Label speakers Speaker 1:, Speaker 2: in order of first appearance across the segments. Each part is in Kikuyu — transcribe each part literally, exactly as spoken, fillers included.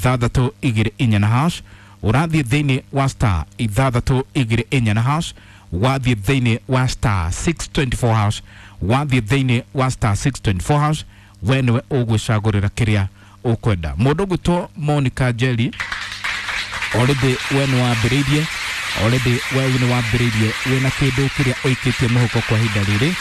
Speaker 1: ithathatũ igĩrĩ inya na hash. Ũrathiĩ thĩinĩ wa star ithathatũ igĩrĩ inya na hash, wathiĩ thĩinĩ wa star six twenty four hash, wathiĩ thĩinĩ wa star six twenty four hash, we nĩwe ũgwĩcagũrĩra kĩrĩa ũkwenda. Mũndũ ũgwĩtwo Monica Njeri, already we nĩ wambĩrĩirie, already we nĩ wambĩrĩirie wĩna kĩndũ kĩrĩa ũikĩtie mũhuko kwa ihinda rĩrĩ,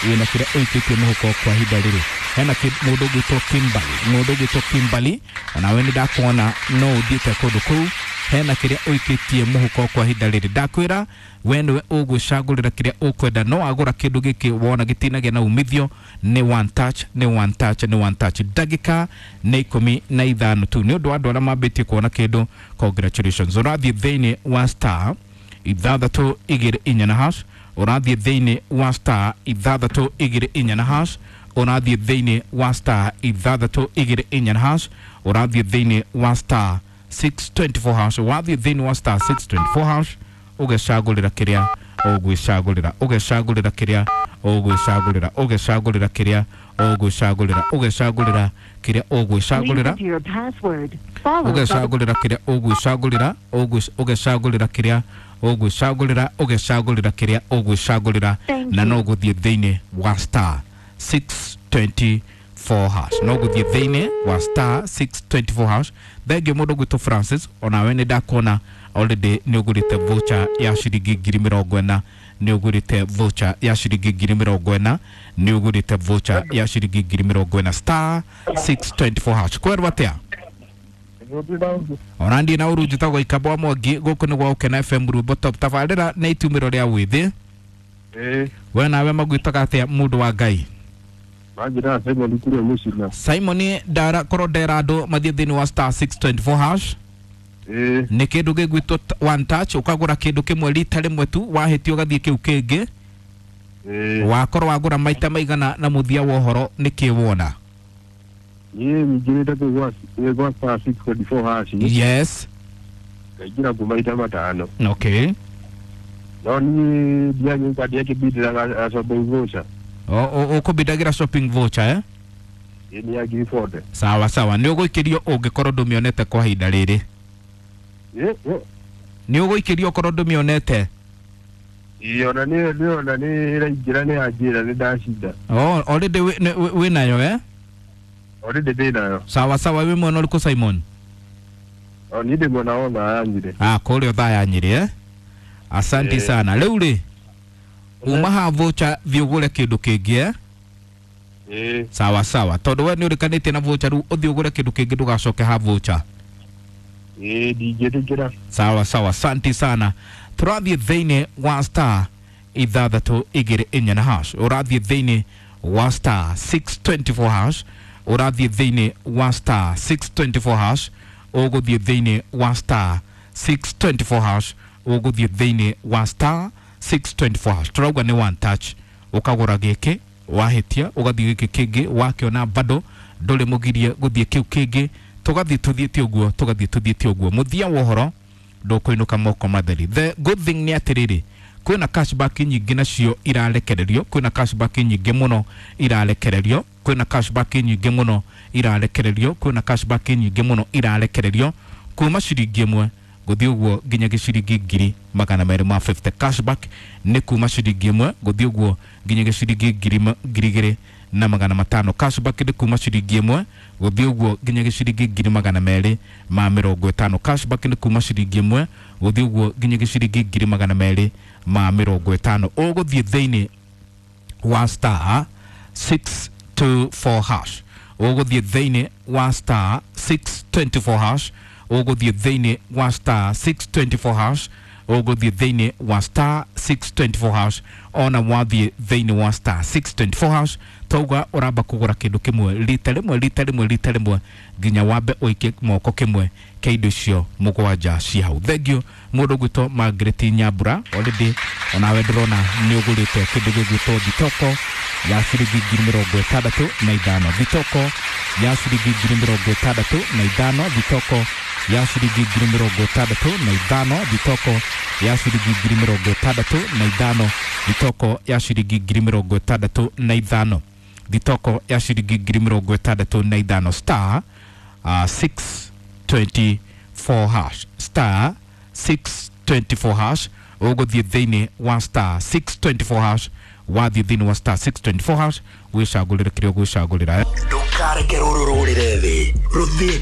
Speaker 1: wĩna kĩrĩa ũikĩtie mũhuko kwa ihinda rĩrĩ. Hena mũndũ ũgwĩtwo Kimberly, mũndũ ũgwĩtwo Kimberly, onawe nĩ ndakuona no ũthiĩte kũndũ kũu. Hena kĩrĩa ũikĩtie mũhuko kwa ihinda rĩrĩ. Ndakwĩra we nĩwe ũgwĩcagũrĩra kĩrĩa ũkwenda. No wagũra kĩndũ gĩkĩ wona gĩtinagĩa na umithio, nĩ one touch, nĩ one touch, nĩ one touch. Ndagĩka nĩ ikũmi na ithano tu. Nĩ ũndũ wa andũ arĩa mambĩtie kuona kĩndũ, congratulations. Ũrathiĩ thĩinĩ wa star ithathatũ igĩrĩ inya na hash, ũrathiĩ thĩinĩ wa star ithathatũ igĩrĩ inya na hash, ũrathiĩ thĩinĩ wa star ithathatũ igĩrĩ inya na hash, ũrathiĩ thĩinĩ wa star six twenty four hash, wathiĩ thĩinĩ wa star six twenty four hash, ũgecagũrĩra kĩrĩa ũgwĩcagũrĩra, ũgecagũrĩra kĩrĩa ũgwĩcagũrĩra, ũgecagũrĩra kĩrĩa ũgwĩcagũrĩra, ũgecagũrĩra kĩrĩa ũgwĩcagũrĩra, ũgecagũrĩra kĩrĩa ũgwĩcagũrĩra, ũgecagũrĩra kĩrĩa ũgwĩcagũrĩra, ũgecagũrĩra kĩrĩa ũgwĩcagũrĩra, na no gũthiĩ thĩinĩ wa star six twenty four hash, no gũthiĩ thĩinĩ wa star six twenty four hash. Thengio mũndũ gwĩtwo Francis, onawe nĩ ndakuona already nĩ ũgũrĩte voucher ya ciringi ngiri mĩrongo ĩna, nĩ ũgũrĩte voucher ya ciringi ngiri mĩrongo ĩna, nĩ ũgũrĩte voucher ya ciringi ngiri mĩrongo ĩna star six twenty four hash. Kwerwo atĩa? Ona ndiĩ na ũru, njĩtagwo Ikamba wa Mwangi, gũkũ nĩ gwa Ũkena F M Rwĩmbo Top. Tabarĩra nĩ itumĩro rĩa wĩthĩ. We nawe magwĩtaga atĩa mũndũ wa Ngai?
Speaker 2: Simon kũrĩa Mũcina.
Speaker 1: Simon ndara korwo ndera andũ mathiĩ thĩinĩ wa star six twenty four hash. Nĩ kĩndũ gĩgwĩtwo one touch, ũkagũra kĩndũ kĩmwe rita rĩmwe tu, wahĩtia ũgathiĩ kĩu kĩngĩ. Wakorwo wagũra maita maigana na mũthia wa ũhoro nĩ kĩ wona?
Speaker 2: Niĩ nyingĩrĩte kũu gwa star six twenty four hash.
Speaker 1: Yes.
Speaker 2: Ngaingĩra kuo maita matano.
Speaker 1: Okay.
Speaker 2: No niĩ ndianyita ndiakĩbindĩraga shopping voucher.
Speaker 1: Ũkũbindagĩra shopping voucher eh?
Speaker 2: Nĩ ya ngiri forty.
Speaker 1: Sawa sawa, nĩ ũgũikĩrio ũngĩkorwo ndũmĩonete kwa ihinda rĩrĩ. Nĩ ũgũikĩrio okorwo ndũmĩonete?
Speaker 2: Ĩĩ, ona nĩ ona nĩ ĩraingĩra nĩ yanjĩra nĩ ndacinda.
Speaker 1: Oh, already wĩ nayo eh?
Speaker 2: Already ndĩ nayo.
Speaker 1: Sawa sawa, wĩ mwena ũrĩkũ Simon?
Speaker 2: O niĩ ndĩ mwena wa Othaya Nyĩrĩ.
Speaker 1: Ah, kũrĩa Othaya Nyĩrĩ eh? Asante sana. Rĩu rĩ, uma ha voucher thiĩ ũgũre kĩndũ kĩngĩ eh?
Speaker 2: Ĩĩ.
Speaker 1: Sawa sawa, tondũ we nĩ ũrĩkanĩtie na voucher, rĩu ũthiĩ ũgũre kĩndũ kĩngĩ ndũgacoke ha voucher.
Speaker 2: Ĩĩ, ndingĩtĩkĩra.
Speaker 1: Sawa sawa, asante sana. Tũrathiĩ thĩinĩ wa star ithathatũ igĩrĩ inya na hash, ũrathiĩ thĩinĩ wa star six twenty four hash, ũrathiĩ thĩinĩ wa star six twenty four hash, ũgũthiĩ thĩinĩ wa star six twenty four hash, ũgũthiĩ thĩinĩ wa star six twenty four hash. Tũrauga nĩ one touch, ũkagũra gĩkĩ wahĩtia ũgathiĩ gĩkĩ kĩngĩ, wakĩona bado ndũrĩ mũgirie gũthiĩ kĩu kĩngĩ, tũgathiĩ tũthiĩte ũguo, tũgathiĩ tũthiĩte ũguo. Mũthia wa ũhoro ndũkũinũka moko matheri. The good thing nĩ atĩrĩrĩ, kwĩna cashback nyingĩ nacio irarekererio, kwĩna cashback nyingĩ mũno irarekererio, kwĩna cashback nyingĩ mũno irarekererio, kwĩna cashback nyingĩ mũno irarekererio kuma ciringi ĩmwe gũthiĩ ũguo nginya gĩciringi ngiri magana merĩ ma fifty. Cashback nĩ kuma ciringi ĩmwe gũthiĩ ũguo nginya gĩciringi ngiri igĩrĩ na magana matano. Cashback nĩ kuma ciringi ĩmwe gũthiĩ ũguo nginya gĩciringi ngiri magana merĩ ma mĩrongo ĩtano. Cashback nĩ kuma ciringi ĩmwe gũthiĩ ũguo nginya gĩciringi ngiri magana merĩ ma mĩrongo ĩtano. Ũgũthiĩ thĩinĩ wa star six two four hash, ũgũthiĩ thĩinĩ wa star six twenty four hash, ũgũthiĩ thĩinĩ wa star six twenty four hash, ũgũthiĩ thĩinĩ wa star six twenty four hash. Ona wathiĩ thĩinĩ wa star six twenty four hash, tauga ũramba kũgũra kĩndũ kĩmwe rita rĩmwe rita rĩmwe rita rĩmwe nginya wambe ũikie moko kĩmwe kĩa indo icio mũgwanja ci hau. Thengio mũndũ ũgwĩtwo Margaret Nyambura, already onawe ndĩrona nĩ ũgũrĩte kĩndũ gĩgwĩtwo thitoko ya ciringi ngiri mĩrongo ĩtandatũ na ithano, thitoko ya ciringi ngiri mĩrongo ĩtandatũ na ithano, thitoko ya ciringi ngiri mĩrongo ĩtandatũ na ithano, thitoko ya ciringi ngiri mĩrongo ĩtandatũ na ithano, thitoko ya ciringi ngiri mĩrongo ĩtandatũ na ithano, thitoko ya ciringi ngiri mĩrongo ĩtandatũ na ithano, star uh, six twenty-four hash, star six twenty-four hash. Ũgũthiĩ thĩinĩ wa star six twenty-four hash, wathiĩ thĩinĩ wa star six twenty-four hash wĩcagũrĩre kĩrĩa ũgwĩcagũrĩra.
Speaker 3: Ndũkareke rũrũ rũrĩre thĩ rũthiĩ.